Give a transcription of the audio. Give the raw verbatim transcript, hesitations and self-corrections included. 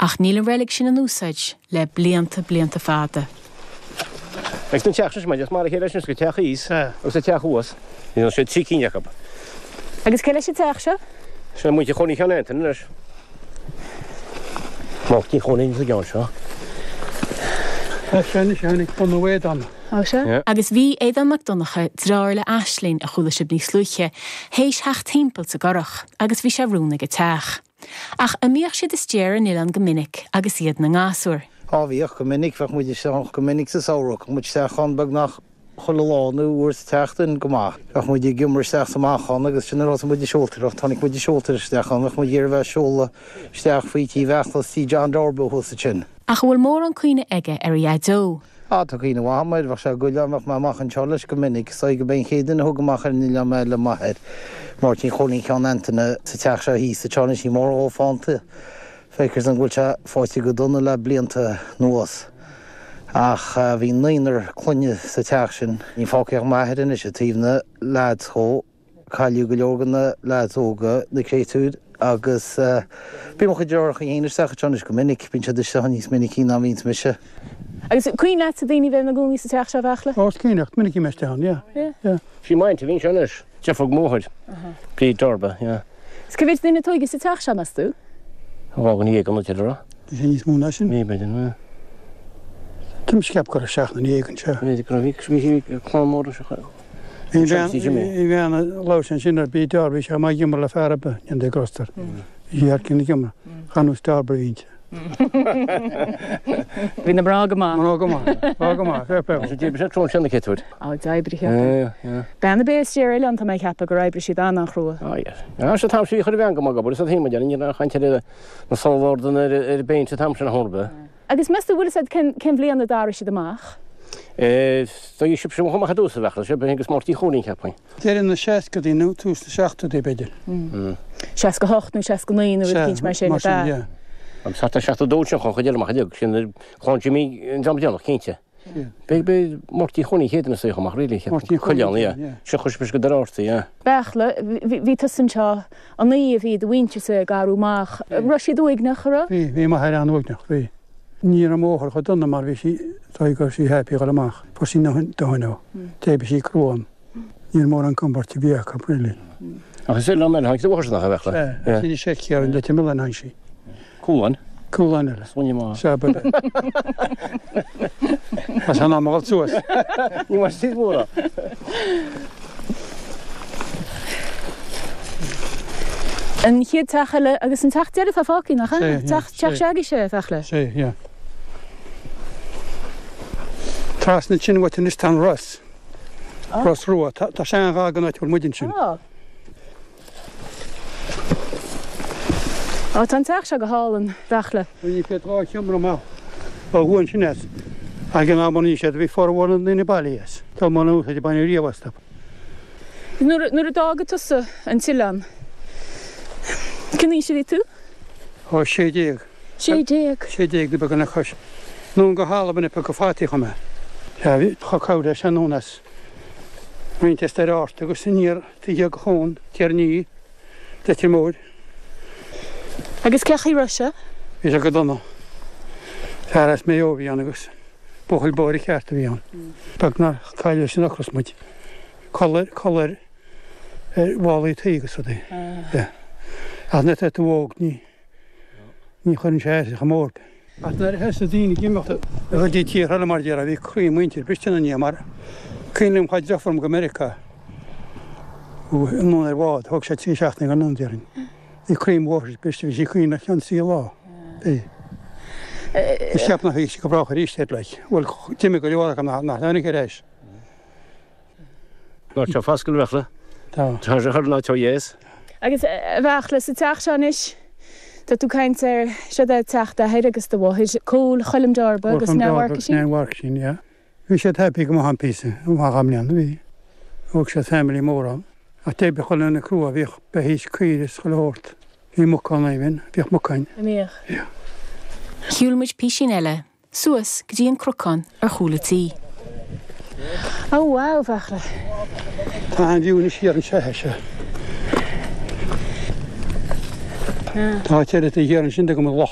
Ach níl an reilig sin in úsáid le blianta blianta fada. Ag an teach sin mar a chéile sin go teach thíos agus a teach thuas, Ní sé trí cinn acu. Agus cé leis an teach seo? Sé muintir Chóilín Sheáin Antaine leis. Máirtín Chóilín sa gceann seo. Sin tháinig bunú Aodán. Ó sea? Agus bhí Aodán Mac Donncha deartháir le Aisling a chuala sibh níos luaithe, théis theacht timpeall sa gcurach agus bhí sé rún ag an teach. Ach an mbíodh siad istigh ar an oileán go minic agus iad ina ngasúir. Á bhíodh go minic bheadh muid isteach go minic sa samhradh, muid isteach ann beagnach chuile lá nó uair sa tseachtain go maith. Bheadh muid ag iomar isteach sa amach agus sin ar muid ag seoltóireacht, tháinig muid ag seoltóireacht isteach ann, bheadh muid ag bheith seoladh isteach faoi tí Bheachlas tí John Darbo thuas sin. Ach bhfuil mórán cuimhne aige ar a dhaideo. Á tá cuimhne mhaith air bheadh sé ag goil bheadh mé amach anseo leis go minic, so go b'é an chéad duine a thug amach ar an oileán mé le m'athair. Máirtín Chóilín Sheáin Antaine sa teach seo thíos sa teána sí mór ó fánta. Feictear dom go bhfuil sé fáite go dona le blianta anuas. Ach bhí naonúr clainne sa teach sin. Ní fágtha ach m'athair anois i taobh na lads chomh cailleadh go leor de na lads óga na créatúir agus bíonn mo chuid deartháireacha féin isteach anseo anois go minic, bíonn siad isteach níos minicí ná bhíonns mise. Agus cuimhin leat daoine bheith ina gcónaí sa teach seo Bheachla? Ó cínecht minic mé ann, yeah. Yeah. Sí m'aintín a bhí anseo anois, deirfiúr máthair. Bríd Darba, yeah. Is cá mhéad duine a tógadh sa teach seo meas tú? Dhá dhuine dhéag an rá. Bhí sé níos mó ná sin. Ní b'fhéidir ná. Tá sceap go seach na éagan se. Bhí bhí clann mór se. Bhí bhean leis sin ar bí dear bhí sé má gimar le fearbe an de gostar. Bhí ar cin gimar chanús dear bhíte. Bhí na mná go maith. Mná go maith, go maith, fair play. Sé sé trón sin na cétúir. Á d'oibrigh Bean a bé sé eile an tá mé ceapadh gur oibrigh siad an-chrua. Á se tam sí chur bhean go maith go sa hí an chaint na sábhordan ar ar béint tam sin thorbe. Agus meas tú bhfuil cén cén bhliain a d'éirigh siad amach? Tá sib sem chumach dúsa bhecha se agus Máirtín Chóilín ceapaim. Deireadh na seascaidí nó tús na seachtóidí b'fhéidir. Seasca hocht nó seasca naoi nó rud mar sin Mar sin, yeah. Am sa seacht dó sin chun chuid amach sin chláin Jimmy an jam déanach cinnte. Be be Máirtín Chóilín chéad na sé chumach ri Máirtín Chuileán Chóilín, se chus go darartaí. Beachla, bhí tusan seo an ní a bhí do mhuintir sa garú amach, raibh siad uaigneach ra? Bhí bhí m'athair an-uaigneach bhí. Ní raibh máthair chomh dona mar bhí sí tá go sí happy go amach, Fuair sí na dohain Dé sí cruan. Ní mór an comport bhí acu really. Ach is le mé ha nach a bheitle. Sin sé cear an le mil an sí. Cúlan? Cúlan eile. Sóine má. Se be. As an am suas. Ní mar sí mhóra. An chéad teach eile agus an teach deireadh tá fágtha nach Sé, Teach teach seagaí sé Bheachla. Sé, yeah. Trasna sin bhfuil anois tá an Ros. Ros Rua, tá sé an gá go bhfuil muidin sin. Á. Á tá an teach seo go hálainn Bheachla. Bhí siad dhá sheomra amach ó thuaidh sin as. Ag an am ní siad bhí formhór na ndaoine bailithe as. Tá mó úsáid bain riamh astu. Nuair nuair a d'fhága tusa an t-oileán. Cén aois a bhí tú? Ó sé déag. Sé déag. Sé déag de beag na chois. Nó go hAlbain ag go fataí chum mé. Bhí chu cabhair sé nónas. Roinnt ar art agus aniar tuige go chón, Tiarnaí, Leitir Móir. Agus cén chaoi raibh sé? Bhí sé go dona. Fear as Maigh Eo a bhí ann agus buachaill báire ceart a bhí ann. Beag nár cailleadh sin ocras muid. Codladh codladh ar mhálaí tuí agus rudaí. Ach na tú óg ní ní chuireann sé as chomh mór. Ach nuair a thosaigh daoine ag imeacht go dtí tíortha eile mar déarfá bhí croí muintir briste ina ndiaidh mar cuimhin liom chuaigh deirfiúr go Meiriceá anonn ar bhád, thóg sé trí seachtaine go anonn déarfainn. Bhí croí mo mháthar briste, bhí sí ag caoineadh ceann trí lá. Bhí. Is cheap nach bhfaighidh sí go brách arís é like. Bhuel d'imigh go leor acu nach nach tháinig ar ais. Ná tá foscail Bheachla. Tá. Tá sé chur ná tá dheas. Agus a Bheachla sa teach seo anois, tá tú caint ar seo é teach d'athair agus do mháthair, Cóil Choilm Darba agus Cóil Neil Darba Mharcaisín. Neil Mharcaisín, yeah. Bhí siad happy go maith an píosa, amach am bliana, bhí. Thóg siad family mór ann. Ach d'oibrigh chuile dhuine crua, bhíodh beithígh caoirigh is chuile shórt. Bhí muc ann even, bhíodh muc ann. An mbíodh? Yeah. Shiúil muid písín eile, suas go dtí an cnocán ar chúl an tí. Ó wow, Bheachla. Tá an view anois thiar anseo é seo. Tá áit eile taobh thiar ansin de go mbeadh loch